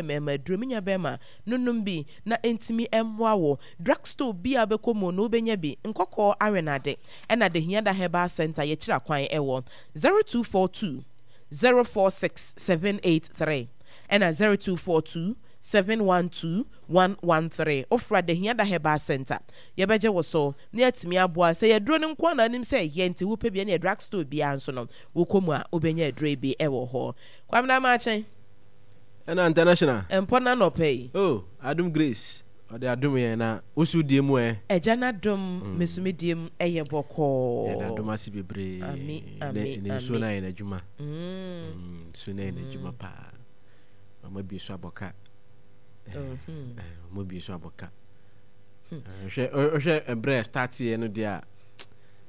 Mmarima aduro, me nua barima, no nom bi na ɛntumi mmoa wo. Drug store biara a wobɛkɔ mu no wobɛnya bi. Nkɔkɔɔ Awenade ɛna Dehiada Herbal Centre yɛkyiri akwan ɛwɔ 0242 046 783 ɛna 0242 712 113. Wofra Dehiada Herbal Centre yɛbɛgye wo so na yɛatumi aboa. Sɛ ɛyɛ aduro no nko ara na wonim sɛ ɛyɛ nti wopɛ bi ɛneɛ drug store biara nso no wokɔ mu a wobɛnya aduro yi bi ɛwɔ hɔ. Kwabena Amakye. Ɛna international. Mpɔ no anɔpa yi. Oh adom grace ɔde adom yɛn na woso die mu ɛ. Agya n'adom me so me die mu ɛyɛ bɔkɔɔ. Yɛda adom ase bebree. Ami ami ami. Ne nsuo no ayɛ n'adwuma. Nsuo no ayɛ n'adwuma paa. Ɔmo abie so abɔ ka. Ɔmo abie so abɔ ka. Hwɛ hwɛ ɛbrɛ start yɛ no deɛ a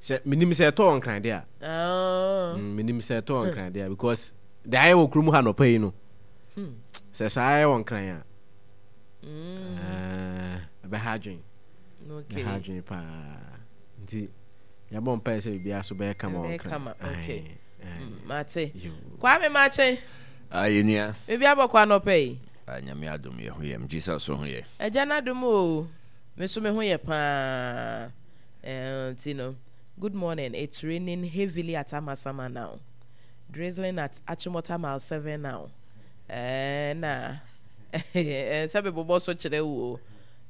sɛ menim sɛ ɛtɔ wɔ nkran deɛ a. Menim sɛ ɛtɔ wɔ nkran deɛ a because. Deɛ ayɛ wɔ kurom ha nɔpa yi no, hmm. sɛ saa ayɛ wɔ nkran a, mm. eh, ɛbɛha adwen. Ɛbɛha adwen paa. Nti yɛbɔ mpaeɛ sɛ biribiara so bɛyɛ kama wɔ nkran. Hmm, mate. Kwame makye. Ayɛ nua. Biribi abɔkɔ anɔpa yi. Ah, nyame adom yɛ ho yɛ. Jesus so ho yɛ. Agya no adom o. Me so me ho yɛ paa. Eh, nti no, good morning. It's raining heavily at Amasaman now. Drizzling at Achimota mile 7 now. Eh, na eh, sɛ mebobɔ so kyerɛ wo o.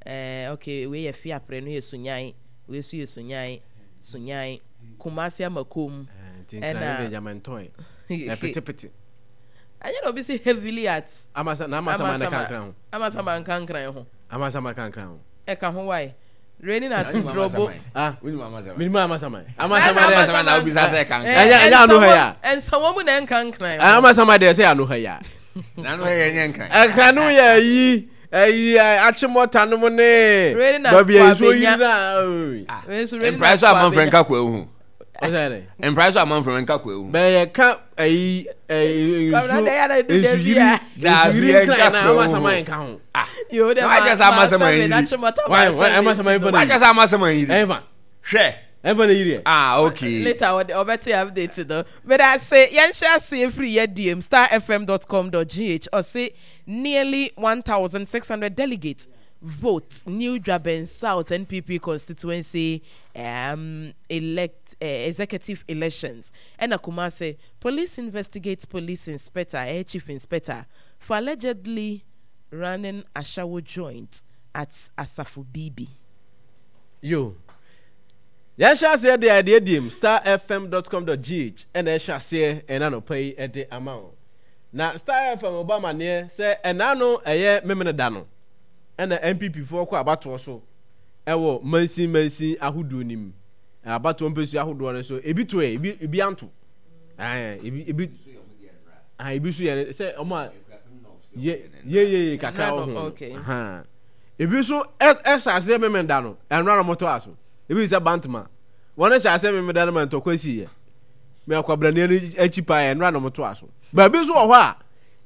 Eh, okay, wei yɛ Fiapre no yɛ Sunyan. Wei so yɛ Sunyan. Sunyan. Kumasi Amakom. Eh, ɛna Yamantɔn. Ɛpetepete. Ɛnyɛ na obi si heavily at. Amasa na Amasama na kankran ho. Amasama nkankran ho. Amasama kankran ho. Ɛka ho wae. Raining at Drobo. Ah, minimu amasama. Amasama de amasama na obisa sɛ kankran. Ɛnyɛ ɛnyɛ ano ha ya. Ɛnsa wɔn mu na ɛnkankran. Amasama de ɛsɛ ano ha ya. Na ano ha yɛ nyɛ nkran. Ɛnkran no yɛ ayi ayi akyemɔta no mu ne. Raining at Baabi a nsuo Kwabenya. yiri na. Mpira so amanfrɛ nka kwa ehu. Mpira so amanfrɛ nka kwa ehu. Bɛyɛ ka ayi ɛyi nsuo nsuyiri nsuyiri nkran na amasama nka ho. Yo, de ma sɛ amasama yiri. Amasama nfa na yiri. Wájú sɛ amasama yiri. Ɛnfa. Hwɛ. Ɛnfa na yiri yɛ. Ah okay. Later ɔbɛte update no. Meda ase yɛn hyɛ ase efiri yɛ diem starfm.com.gh ɔse nearly 1,600 delegates vote new Dwaben South NPP constituency um, elect uh, executive elections. Ɛna Kumasi police investigates police inspector, eh, chief inspector for allegedly running ashawo joint at Asafo Bibi. Yo. Yɛnhyɛ aseɛ de adeɛ diem starfm.com.gh ɛna ɛhyɛ aseɛ ɛna anɔpa yi ɛde ama wo. Na Star FM bɔ amaneɛ sɛ ɛna no ɛyɛ memene da no ɛna NPP foɔ kɔ abatoɔ so ɛwɔ mansin mansin ahodoɔ nim. Abatoɔ mpɛsua ahodoɔ no so ebi to ɛ ebi ebi anto. Ɛɛ ebi ebi ah ebi so yɛ sɛ ɔmo a yɛ yɛ yɛ yɛ kakra wɔ ho no ebi nso ɛhyɛ aseɛ memenda no ɛnora na wɔtɔ aso ebi sɛ bantama wɔn hyɛ aseɛ memenda no ma ntɔkwa si yɛ mɛ akwabrani no akyi paa ɛnora na wɔtɔ aso baabi nso wɔ hɔ a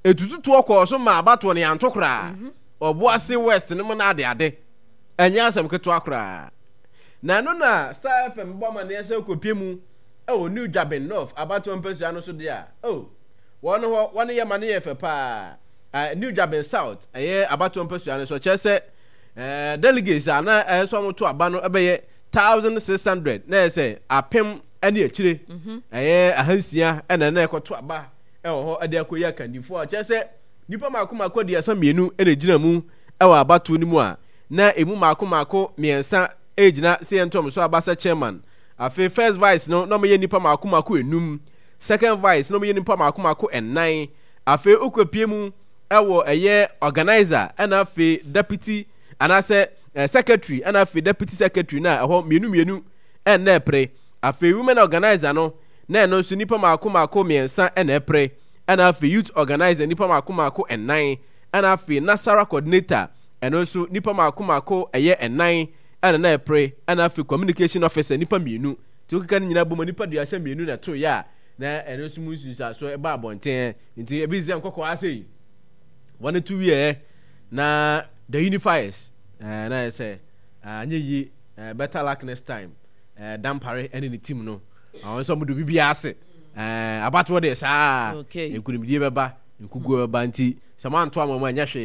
etututuo kɔɔ so ma abatoɔ no yanto koraa mhm. ɔboase west no mu na ade ade ɛnyɛ asɛm ketewa koraa na ɛno na star fm bɔ amaneɛ sɛ kɔpie mu ɛwɔ new dwabin north abatoɔ mpasua no so deɛ a oh Wɔn hɔ, wɔn yɛ ma no yɛ fɛ paa. Uh, New Dwabin South, ɛyɛ abatoɔ mpasua no so, kyerɛ sɛ uh, delegates a na ɛyɛ sɛ wɔto aba no ɛbɛyɛ 1600 na ɛyɛ sɛ apem ne akyire mhm. ɛyɛ ahansia ɛna na ɛkɔto aba ɛwɔ hɔ ɛde akɔyi akandifoɔ a kyerɛ sɛ nipa mako mako 32 ɛna gyina mu ɛwɔ abatoɔ no mu a na emu mako mako mmiɛnsa ɛgyina sɛ yɛntɔm so aba sɛ chairman afei first vice no na wɔyɛ nipa mako mako enum Second vice na wɔyɛ nnipa mako mako nnan. Afei wokɔpie mu wɔ ɛyɛ organizer ɛna afei deputy anaasɛ eh, secretary ɛna afei deputy secretary na ɛhɔ mmienu mmienu ɛna ɛpere. Afei women organizer no na ɛno nso nnipa mako mako mmiɛnsa ɛna ɛpere. Ɛna afei youth organizer nnipa mako mako nnan. Ɛna afei Nasara coordinator ɛno nso nnipa mako mako ɛyɛ nnan ɛna na ɛpere. Ɛna afei communication officer nnipa mmienu. Nti wokeka ne nyinaa bom a, nnipa 32 na ɛtoeɛ a na ɛno nso mu nsunsuansoɔ ɛba abɔnten. Nti ebi sɛ nkɔkɔɔ ase yi, wɔn to wieɛ na the unifiers ɛɛ na yɛ sɛ anyɛ yie ɛɛ better luck next time ɛɛ Dampare ɛne ne team no wɔn nso wɔn de obi biara ase ɛɛ abatoɔ deɛ saa nkunimdie bɛba nkuguo bɛba nti. Sɛ moanto ama mu a, ɛnyɛ hwee.